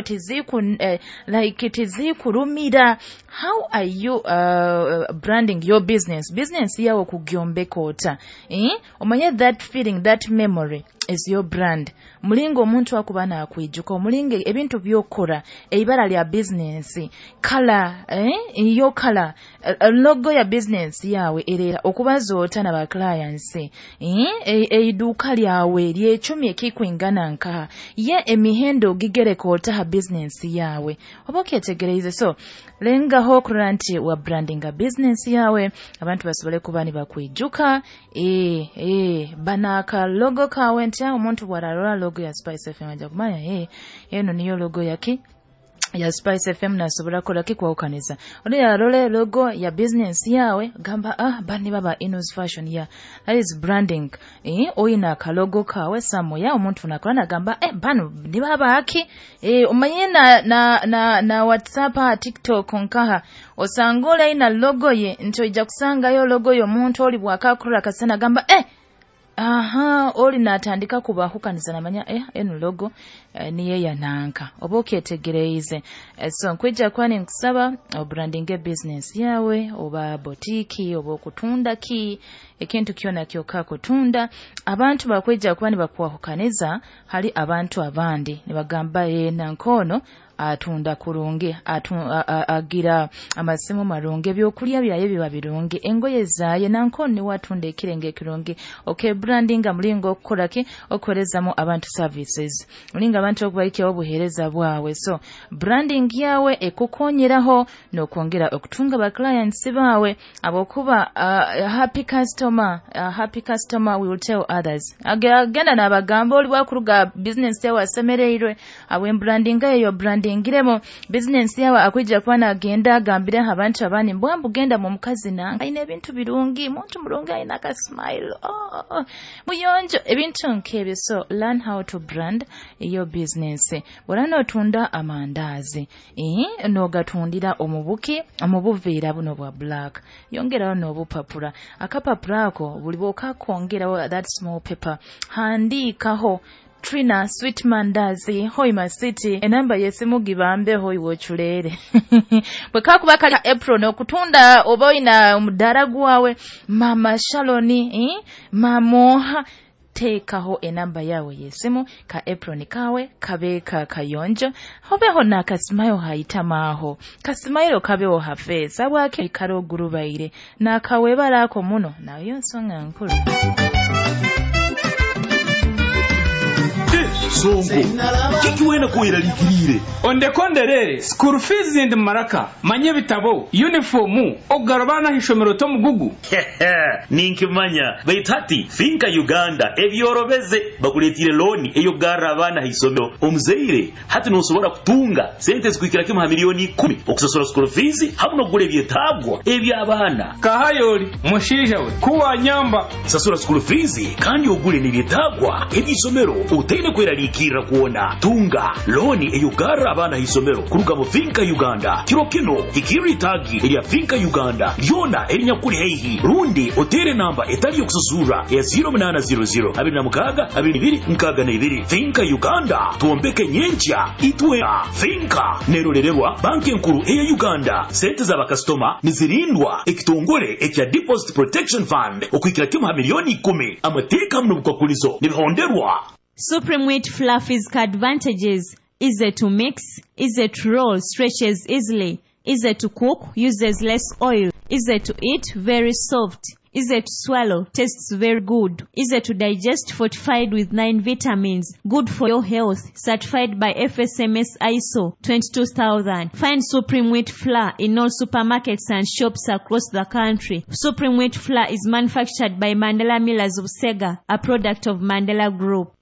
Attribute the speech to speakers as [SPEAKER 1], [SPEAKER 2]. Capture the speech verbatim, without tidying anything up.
[SPEAKER 1] Tiziku eh, like tizikurumira. How are you uh, branding your business? Business yawe kugyombeka ota, eh? Omanye that feeling, that memory is your brand. Mulingo omuntu akuba nakwijuka, omulingo ebintu byokora, eibara lya business, kala, eh? Iyo kala, logo ya business yawe erera okubaza ota na ba clients, eh? Eiduka lyawe lyecumi ekikwingana nkaha, ye emihendo gigereka ota ha business yawe, oba okyetegereize. So lengaho okurora nti wa brandinga business yawe, abantu basobole kuba nibakwijuka, eh, eh, banaka logo kawe nti omuntu bwararora logo ya Spice F M aja kumanya eh, eno niyo logo yaki ya Spice F M, nasobola kola kikwawukaniza. Oli yarole logo ya business yawe gamba, ah, bani baba Inos Fashion ya. That is branding. Eh, oyina kalogo kawe samoya omuntu nakola nagamba, eh, bano ni baba aki, eh, omanye na na na, na WhatsApp, TikTok nkaha osangole ina logo ye nti ojja kusangayo logo yo omuntu oli bwakakura kasana gamba, eh, aha, oli natandika kubahukaniza namanya, eh, eno logo eh, niye yananka, oba okyetegereize. Eh, so nkwijja kwani nkusaba obrandinge business yawe, oba botiki, oba okutunda ki, ekintu kyona kyokka kutunda, abantu bakwijja kuba nibakwahukaniza hali abantu abandi nibagamba, ye nankono atunda kurungi, atu, agira amasimu marungi, ebyokulya byaye biba birungi, engoye zaye nankono niwe atunda ekirenge ekirungi. Okay, brandinga mulingo okukola ki, okuwerezamu abantu services, mulingo abantu okubaikyawo obuheereza bwawe. So branding yawe ekukonyeraho n'okwongera okutunga ba clients bawe, abokuba uh, happy customer, uh, happy customer will tell others. Agenda n'abagamba oli bwakuruga business yawe asemereirwe, abwe branding eyo branding ngiremo business yawe akwijja kuba nagenda agambire abantu abandi, mbwambu genda mu mukazi nange ayina ebintu birungi, muntu mulungi, ayina ka smile, oh, oh, muyonjo, ebintu nk'ebyo. So learn how to brand your business. Bw'ola n'otunda amandaazi, eh, n'ogatundira omubuki omubuveera buno bwa black, yongerawo n'obupapula, akapapula ako buli bw'okakongerawo that small paper, handiikaho Trina Sweet Mandazi Hoima City, enamba yesimu gibambeho iwe ochuleere. Bwe kakuba kali apron okutunda oba oyina omudaara gwawe, Mama Shaloni, eh? Mamoha, teekaho enamba yawe yesimu, ka apron kawe kabe ka kayonjo, hobeho n'akasimayo hayitamaaho, kasimayo kabeho hafeesa bwake karo ogurubaire n'akawebala ako muno, nayo nsonga nkulu.
[SPEAKER 2] Songo kiki wena kweraliikirire?
[SPEAKER 3] Ondekonderere school fees ndi maraka, manye ebitabo, uniform, okugarabana ishomero tomugugu.
[SPEAKER 2] Ninkimanya, baitu hati Finka Uganda ebyorobeze, bakuletire looni eyokugarra abaana haisomero. Omuzaire hati nosobora kutunga sente zikuhikira kimu ha miliyoni ikumi okusasura school fees hamu n'okugura ebyetaagwa eby'abaana.
[SPEAKER 3] Kahayoli mushiija we kuwanyamba.
[SPEAKER 2] Sasura school fees kandi ogule n'ebyetaagwa eby'isomero otaine kweraliikirira kwona. Tunga looni eyokugarra abaana haisomero kuruga mu Finka Uganda. Kiro kino hikirra itaagi erya Finka Uganda lyona erinyakuli haihi, rundi otere namba etali yokususura ya zero munana zero zero abiri na mukaaga abiri ibiri nkaaga na ibiri. Finka Uganda, twombeke nyenkya itwe. Finka nerorererwa banki enkuru eya Uganda. Sente z'abakasitoma nizirindwa ekitongole ekya Deposit Protection Fund okuhikira kimu ha miliyoni ikumi. Amateeka hamu n'obukwakulizo nibihonderwa.
[SPEAKER 4] Supreme Wheat Fluffy's advantages: easy to mix, easy to roll, stretches easily, easy to cook, uses less oil, easy to eat, very soft, easy to swallow, tastes very good, easy to digest, fortified with nine vitamins, good for your health, certified by F S M S I S O twenty-two thousand. Find Supreme Wheat Flour in all supermarkets and shops across the country. Supreme Wheat Flour is manufactured by Mandela Millers of Sega, a product of Mandela Group.